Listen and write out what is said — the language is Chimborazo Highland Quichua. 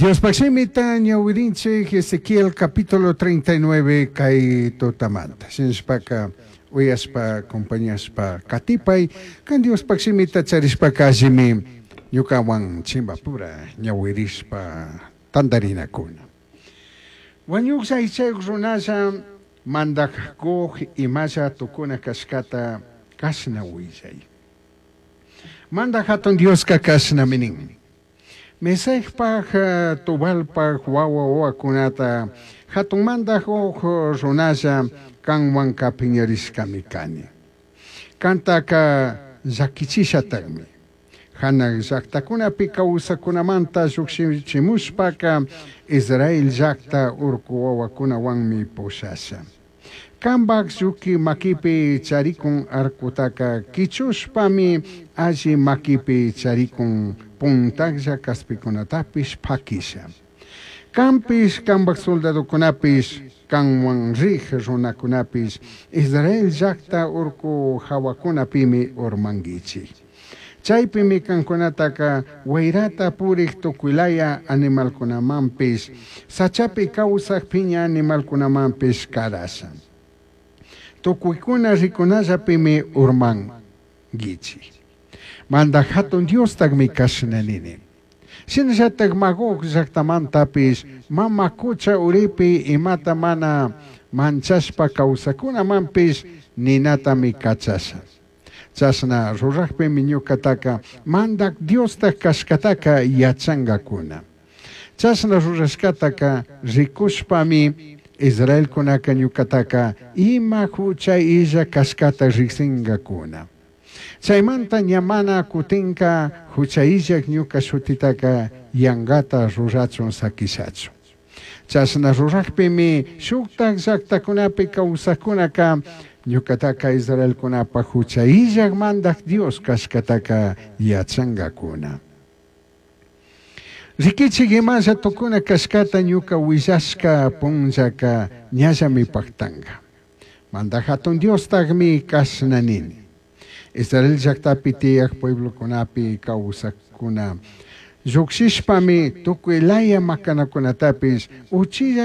Diospaj shimita ñawirinchij Ezequiel capítulo 39 kay tutamanta. Shinashpaka uyashpa acompañashpa katipai kan Diospaj shimita charishpaka allimi ñukawan chimbapura ñawirishpa tantarinakuna. Wañuqlla aychayuq runalla mandaj Gog imalla tukuna kashkata kashna willay. Mandaj hatun Dioska kashnami nin. Mesecpaj Tubalpaj wawa wawakunata hatun mandaj Gog runalla kanwanka piñarishkami kani. Kantaka llakichishatakmi. Hanaq llaqtakunapi kawsakunamanta llukshichimushpaka Israel llaqta urku wawakunawanmi pushasha. Kambaj lluki makipi charikun arcutaka kichushpami alli makipi charikun puntajlla kaspikunatapish pakisha. Kanpish kambaj soldadokunapish kanwan rij runakunapish Israel llaqta urku hawakunapimi urmankichik. Chaypimi kankunataka wayrata purik tukuylaya animalkunamanpish sachapi kawsaq phiña animalkunamanpish karasha. Tukuykuna rikunallapimi urmankichik. Mandaj hatun Diostakmi kashna nini. Shinallatak Magog llaqtamantapish mama kucha uripi imata mana manchashpa kawsakunamanpish ninatami kachasha. Chashna rurajpimi ñukataka mandak Diostaj kashkataka yachankakuna. Chashna rurashkataka rikushpami Israelkunaka ñukataka ima hucha illa kashkata riksinkakuna. Chaymanta ña mana kutinka hucha illak ñuka shutitaka yankata rurachun sakishachu. Chashna rurajpimi shuktak llaqtakunapi kawsakkunaka ñukataka Israelkunapaj hucha illak mandaj Dios kashkataka yachankakuna. Rikichik imalla tukuna kashkata ñuka willashka punllaka ñallami paktanka. Mandaj hatun Diostakmi kashna nini. Israel llaqtapi tiyaq pueblokunapi kawsakuna llukshishpami tukuy laya makanakunatapish uchilla.